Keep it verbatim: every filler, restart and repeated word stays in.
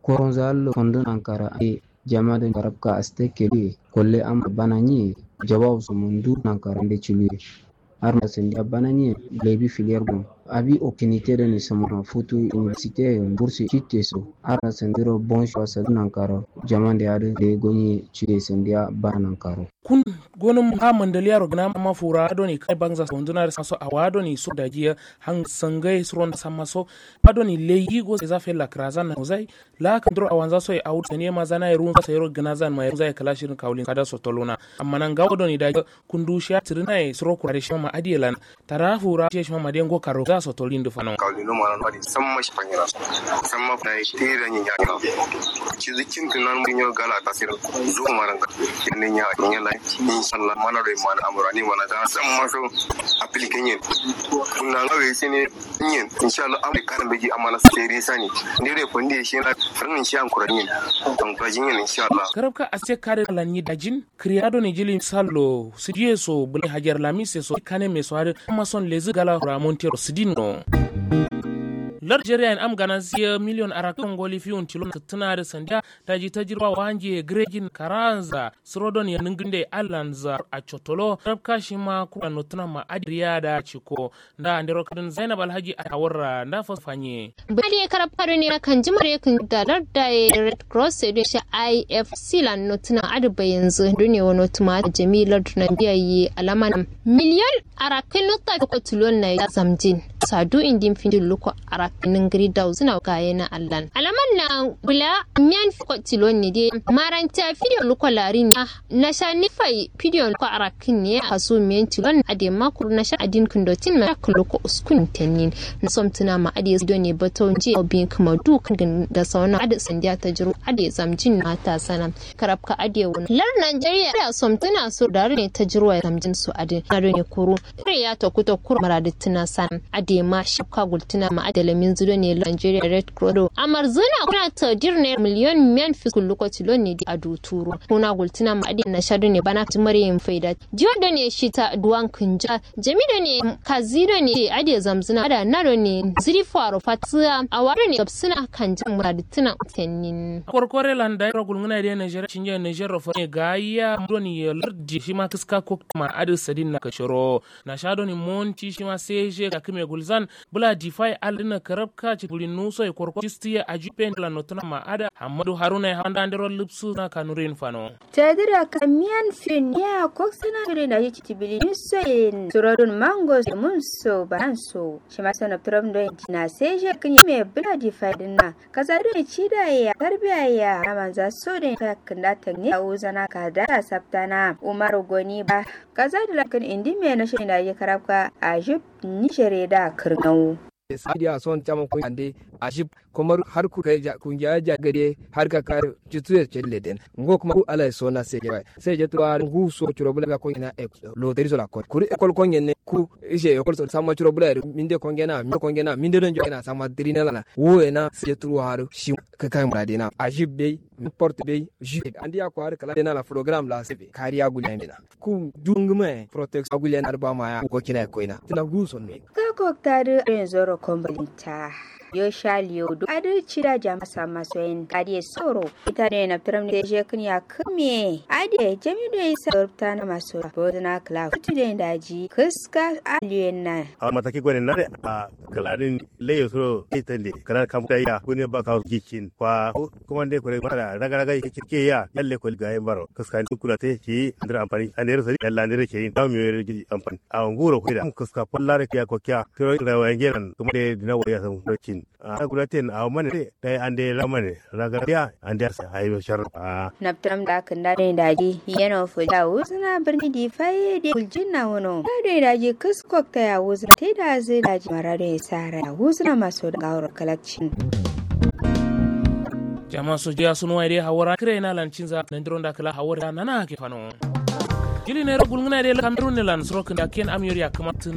Koronza allo fondo nankara ande jama done karabka aste keluye. Kolle amma bana nyiye. Jawabu so mundu nankara ande ciluye. Arna sandiya bana nyiye. Lebi filiyar bon abi opportunité done samana futu université bursi citte so. Arna sandiro bon shuwa sadu nankaro jama nde adu de gonye ciye sandiya bana nankaro. Kun gonum ha mandaliyaro gna ma fura done kai bangza sonduna samma so awa done so dajiya. Hang sangai suron samma so. Adoni leyi go seza fella krazan na nozai. La kandro awanza soye awu saniye ma zanaye runza sayero gnazan ma runza ye kala shirin kawulin kada sotoluna. Amma nan gawo doni da kundu shiya tirinaye suro kurare shima ma adiye lan. Tara fura shiye shima ma de ngo karo za sotolin du fano. Kawulin du ma nan wadi samma shi fanyira. Samma fanyira tira nyi nya. Cizi cintu nan mu nyo gala tasir. Zo maranga. Yande nya nya la. Inshallah mana do mana amurani mana ta samma so. Application yin. Kunna ngawe sene. Nyen inshallah am de kan beji amana seri sani. Ndere fondi shena. Ran insha an kura nyen. An kura jin nyen inshallah. Karabka aste kare lan ni dajin. Kriado ni jili sallo sidiye so bule hajar lamise so kane me so hade. Amma son lezi gala kura montero sidin no. Larjeriya en am gana siya miliyon arakon goli fiwun tilon tattuna da sandiya. Daji tajirwa wanje grejin karanza. Surodon ya ninginde allanza a cotolo rabka shima kura notuna ma adiriya da ciko. Nda andero kadin zainab alhaji a tawarra nda fas fanye. Bali karab kado ne na kanji mare kin da lardai red cross sai don shi ifc lan notuna adu bayanzu dune wa notuma jami'ar dunan biyayi alamanam miliyon arakin nutta ko tilon na ya zamjin. Sadu indin findin luko arakin ningiri dauzuna gaye na allan alaman na bula miyan fiko tilon ne de. Maranta fidiyo luko larin ya. Nasha nifai fidiyo luko arakin ne kasu miyan tilon ade makur nasha adin kindotin ma kuloko uskun tenin. Nasom tuna ma ade sido ne bato nje obin kuma du kan da sauna ade sandiya ta jiru ade zamjin na ta sana. Karabka ade wani lar nigeria da som tuna so da ne ta jiru zamjin su ade na ne kuru. Kare ya ta kuta kura maradi tuna sana. Ade ma shafka gultuna ma ade lamin zido ne nigeria red cross amarzuna kuna ta dir ne miliyon miyan fiskul lokaci lon ne a duturo. Kuna gultuna ma ade na shado ne bana timar yin faida. Jiwa da ne shi ta duwan kunja jami da ne kazi da ne ade zamzuna da na da ne ziri faro fatiya a wado ne gabsuna kan jin muradituna tenin. Korkore landa ro gulnguna de nigeria cinje nigeria ro fane gayya doni ya lardi shi ma kiska kok ma ade sadin na kashiro. Na sha doni monti shima seje ka kime gulzan. Bula difai aldina karabka ci buri nuso ye korko cisti ye ajupe ndila notuna ma ada hammadu haruna ye hawanda ndero lipsu na kanurin fano. Tedira kamiyan fin ya koksina turi na yici tibili nuso ye surodun mango so munso bananso. Shima so na turam do ye dina seje kini me bula difai dinna. Kasa doni cida ya tarbiya ya amanza so doni faya kinda tangi a uzana kada saptana umaru goni ba. Kasa dila kin indi me na shani da ye karabka ajib. Nishare da kirnau. Sadiya son chama kun ande ajib. Komar har ku kai kungiya ja gade har ka kare jitu ya celle den ngo kuma ku alai so na se bai. Sai je tuwa ngu so churo bula ga ko ina ek lo teri so la ko kuri ekol ko ngene ku ije ekol so sama churo bula minde ko ngena mi ko ngena minde don jo ina sama diri na la wo ina sai je tuwa har shi ka kai murade na ajib bei porte bei ju andi ya ko har kala na la program la sebe kariya gulen na ku jungme protection gulen arba ma ya ko kina ko ina tina ngu so ne. Ka kokta du rin zoro kombalinta. Yo sha liyo du adu cida jama samma soyin kadiye soro. Ita ne na piram ne je kin ya kamiye adiye jami do isa rubta na maso bozna kla futu de daji kiska aliyen na. A mataki gwanin na de a kaladin leyo soro ita de kana kam ta ya kune ba ka gikin kwa kuma de kore mara raga raga ke ya yalle ko ga baro kiska ni kula te ki andira amfani andira sari yalla andira ke yin tawo mi amfani. A nguro ko da kiska pollare ke ya ko kya tiro rawa ngeran kuma de dina waya san kin. A gulaten a mane dai ande lamane raga ya ande asa ayo shar. Naptram da kanda ne daji yeno fuja uzna birni di faye de kuljin na wono da ne daji kiskok ta ya uzna te da zai daji mara da ya sara ya uzna maso da gawar kalakcin. Jama so jiya sun waye dai hawara kire na lancin za nan diron da kala hawara nana ke fano. Jili ne rogul ngana dai kamerun ne lan srokin da ken amiyar ya kamata na.